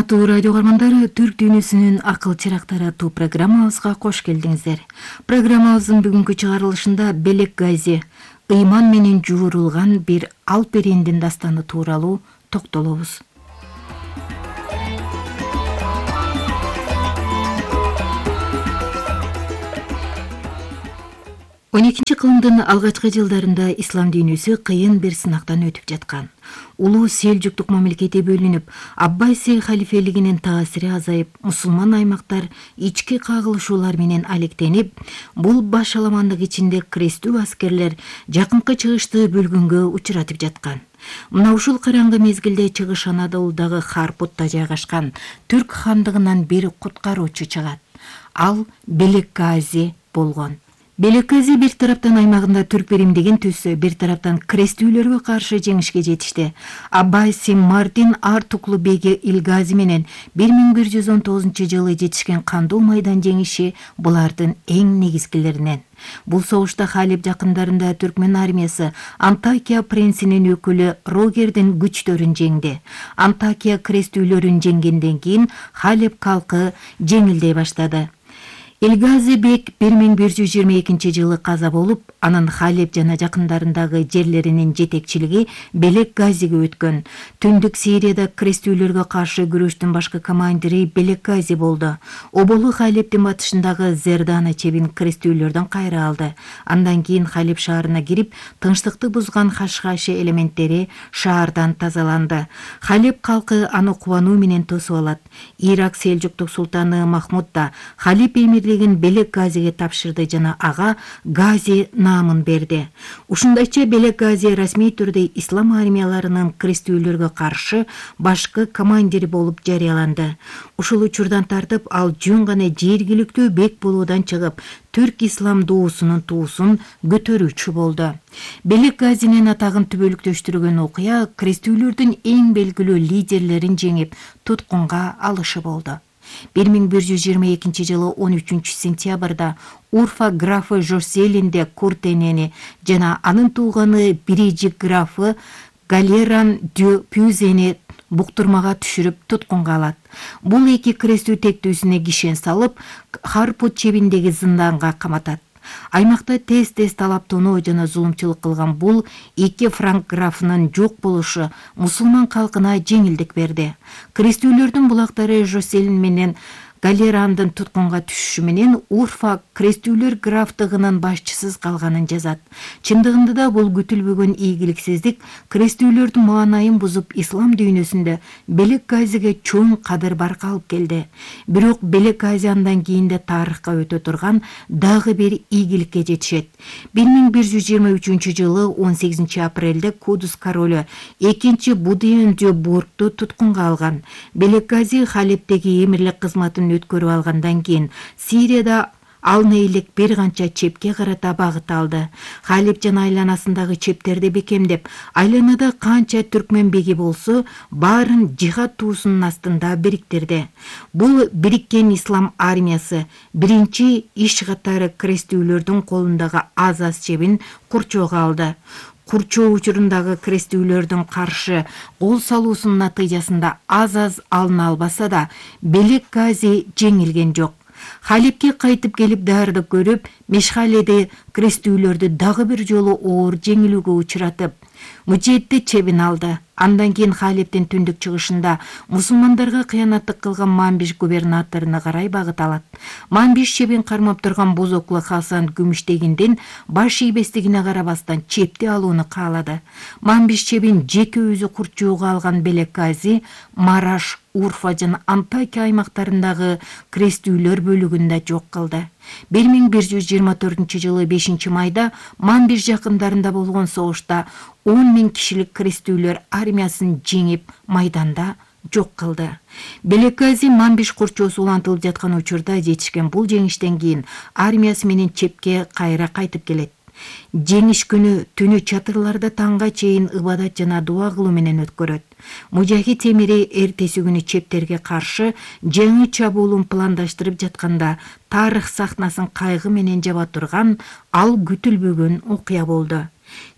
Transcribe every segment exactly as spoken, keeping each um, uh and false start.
Урматтуу радио каармандары, Түрк дүйнөсүнүн акыл чырактары аттуу программабызга кош келдиңиздер. Программабыздын бүгүнкү чыгарылышында Белек Гази, ыйман менен жуурулган бир алп эриндин дастаны тууралуу токтолобуз. он экинчи кылымдын алгачкы жылдарында ислам дүйнөсү кыйын бир сынактан өтүп жаткан. Улуу Селжуктук мамлекети бөлүнүп, Аббасий халифелигинин таасири азайып, мусулман аймактар ички кагылышуулар менен алектенип, бул башаламандык ичинде крестүү аскерлер жакынкы чыгышты бөлгөнгө учуратып жаткан. Мына ушул караңгы мезгилде Чыгыш Анадолудагы Харпутта жайгашкан Түрк хандыгынан бир куткаруучу чыгат. Ал Белек Гази болгон. Белек Гази бир тараптан аймагында түрк биримдигин түзсө, бир тараптан крестүүлөргө каршы жеңишке жетишти. Аббасий Мардин Артуклу беги Илгази менен бир миң бир жүз он тогузунчу жылы жетишкен кандуу майдан жеңиши булардын эң негизгилеринен. Бул согушта Халеб жакындарында түркмен армиясы Антакия принцинин өкүлү Рогердин күчтөрүн жеңди. Антакия крестүүлөрүн жеңгенден кийин Халеб калкы жеңилдей баштады. Илгази бек бир миң бир жүз жыйырма экинчи жылы каза болуп, анын Халеб жана жакындарындагы жерлеринин жетекчилиги Белек Газиге өткөн. Түндүк Сирияда крестүүлөргө каршы күрөштүн башкы командири Белек Гази болду. Оболу Халебдин батышындагы Зердана чебин крестүүлөрдөн кайра алды. Андан кийин Халеб шаарына кирип, тынчтыкты бузган Хашхаши элементтери шаардан тазаланды. Халеб калкы аны кубануу менен тосуп алат. Ирак Селжуктук султаны Махмуд да Халеб эмири Белек Газиге тапшырды жана ага Гази наамын берди. Ушундайча Белек Гази расмий түрдө ислам армияларынын крестүүлөргө каршы башкы командири болуп жарыяланды. Ушул учурдан тартып ал жөн гана жергиликтүү бек болуудан чыгып, түрк ислам доосунун туусун көтөрүүчү болду. Белек Газинин атагын түбөлүктөштүргөн окуя крестүүлөрдүн эң белгилүү лидерлерин жеңип, туткунга алышы болду. бир миң бир жүз жыйырма экинчи жылы он үчүнчү сентябрда Урфа графы Жоселинде Куртенени жана анын тууганы Бирижик графы Галеран дю Пюзени буктурмага түшүрүп туткунга алат. Бул эки крестүү тектүүсүнө кишен салып, Харпут чебиндеги зынданга каматат. Аймакта тез-тез талаптонуу жана зулумчулук кылган бул эки франк графынын жок болушу мусулман калкына жеңилдик берди. Крестүүлөрдүн булактары Жоселин менен Галерандын туткунга түшүшү менен Урфа крестүүлөр графтыгынын башчысыз калганын жазат. Чындыгында да бул күтүлбөгөн ийгиликсиздик крестүүлөрдүн маанайын бузуп, ислам дүйнөсүндө Белек Газиге чоң кадыр-барка алып келди. Бирок Белек Гази андан кийин да тарыхка өтө турган дагы бир ийгиликке жетишет. бир миң бир жүз жыйырма үчүнчү жылы он сегизинчи апрелде Кудус королу экинчи Будиен дю Бургту туткунга алган. Белек Гази Халебдеги эмирлик кызматын өткөрүп алгандан кийин Сирияда алына элек бир канча чепке карата багыт алды. Халеб жана айланасындагы чептерди бекемдеп, айланада канча түркмен беги болсо, баарын жихад туусунун астында бириктирди. Бул бириккен ислам армиясы биринчи иш катары крестүүлөрдүн колундагы Азаз чебин курчоого алды. Курчоо учурундагы крестүүлөрдүн каршы кол салуусунун натыйжасында Азаз алына албаса да, Белек Гази жеңилген жок. Халепке кайтып келип даярдык көрүп, Мешхаледе крестүүлөрдү дагы бир жолу оор жеңилүүгө учуратып, Мужедди чебин алды. Андан кийин Халептин түндүк чыгышында мусулмандарга кыянаттык кылган Манбиш губернаторуна карай багыт алат. Манбиш чебин кармап турган бозоклу Хасан Күмүштегиндин баш ийбестигине карабастан чепти алууну каалады. Манбиш чебин жеке өзү курчоого алган Белек Гази Мараш, Урфа жана Антакия аймактарындагы крестүүлөр бөлүгүндө жок кылды. бир миң бир жүз жыйырма төртүнчү жылы бешинчи майда Манбиш жакындарында болгон согушта он миң кишилик крестүүлөр армиясын жеңип, майданда жок кылды. Белек Гази Манбиш курчоосу улантылып жаткан учурда жетишкен бул жеңиштен кийин армиясы менен чепке кайра кайтып келет. Жеңиш күнү түнү чатырларда таңга чейин ыбадат жана дуа кылуу менен өткөрөт. Мужахид эмири эртеси күнү чептерге каршы жаңы чабуулун пландаштырып жатканда тарых сахнасын кайгы менен жаба турган ал күтүлбөгөн окуя болду.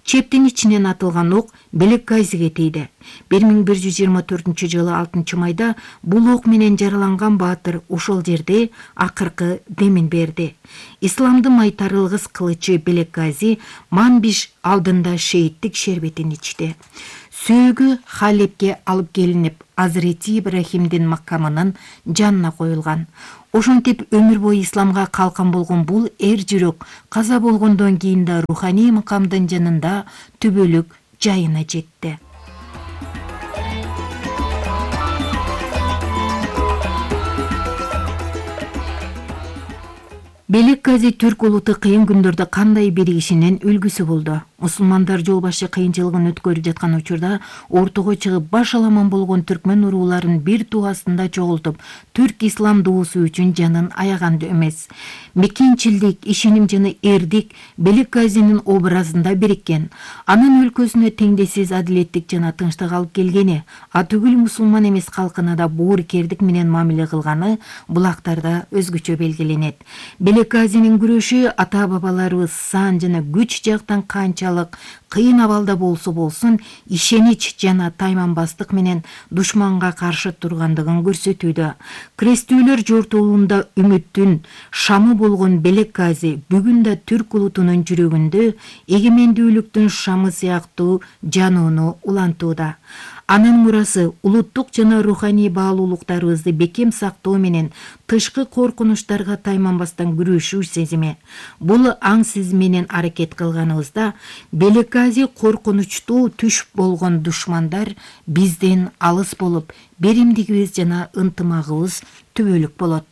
Чептин ичинен атылган ок Белек Газиге тийди. бир миң бир жүз жыйырма төртүнчү жылы алтынчы майда бул ок менен жараланган баатыр ошол жерде акыркы демин берди. Исламдын майтарылгыс кылычы Белек Гази Манбиш алдында шейиттик шербетин ичти. Сөөгү Халепке алып келинип, Азирети Ибрахимдин макамынын жанына коюлган. Ошентип өмүр бою исламга калкан болгон бул эр жүрөк каза болгондон кийин да руханий макамдын жанында түбөлүк жайына жетти. Белек Гази түрк улуты кыйын күндөрдө кандай биригишинин үлгүсү болду. Мусулмандар жол башы кыйынчылыгын өткөрүп жаткан учурда ортого чыгып баш аламан болгон түркмөн урууларын бир туасында чогултуп, түрк ислам дуусу үчүн жанын аяган эмес. Мекенчилдик, ишеним жана эрдик Белек Газинин образында бириккен. Анын өлкөсүнө теңдессиз адилеттик жана тынчтык алып келгени, атүгүл мусулман эмес калкына да боорукердик менен мамиле кылганы булактарда өзгөчө белгиленет. Белек Газинин күрөшү ата-бабаларыбыз сан жана күч жактан канчалык кыйын абалда болсо болсун ишенич жана тайманбастык менен душманга каршы тургандыгын көрсөтүүдө. Крестүүлөр жортуулунда үмүттүн шамы болгон Белек Гази бүгүн да түрк улутунун жүрөгүндө эгемендүүлүктүн шамы сыяктуу жанууну улантууда. Анын мурасы улуттук жана руханий баалуулуктарыбызды бекем сактоо менен тышкы коркунучтарга тайманбастан күрөшүү сезими. Бул аң сезим менен аракет кылганыбызда Белек Гази коркунучтуу түш болгон душмандар бизден алыс болуп, беримдигибиз жана ынтымагыбыз түбөлүк болот.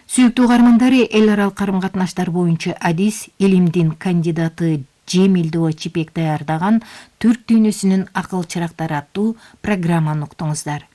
Сүйүктүү угармандары, эл аралык карым-катнаштар боюнча адис илимдин кандидаты Жемилдова Чипек даярдаган Түрк дүйнөсүнүн акыл чырактары аттуу программаны уктуңуздар.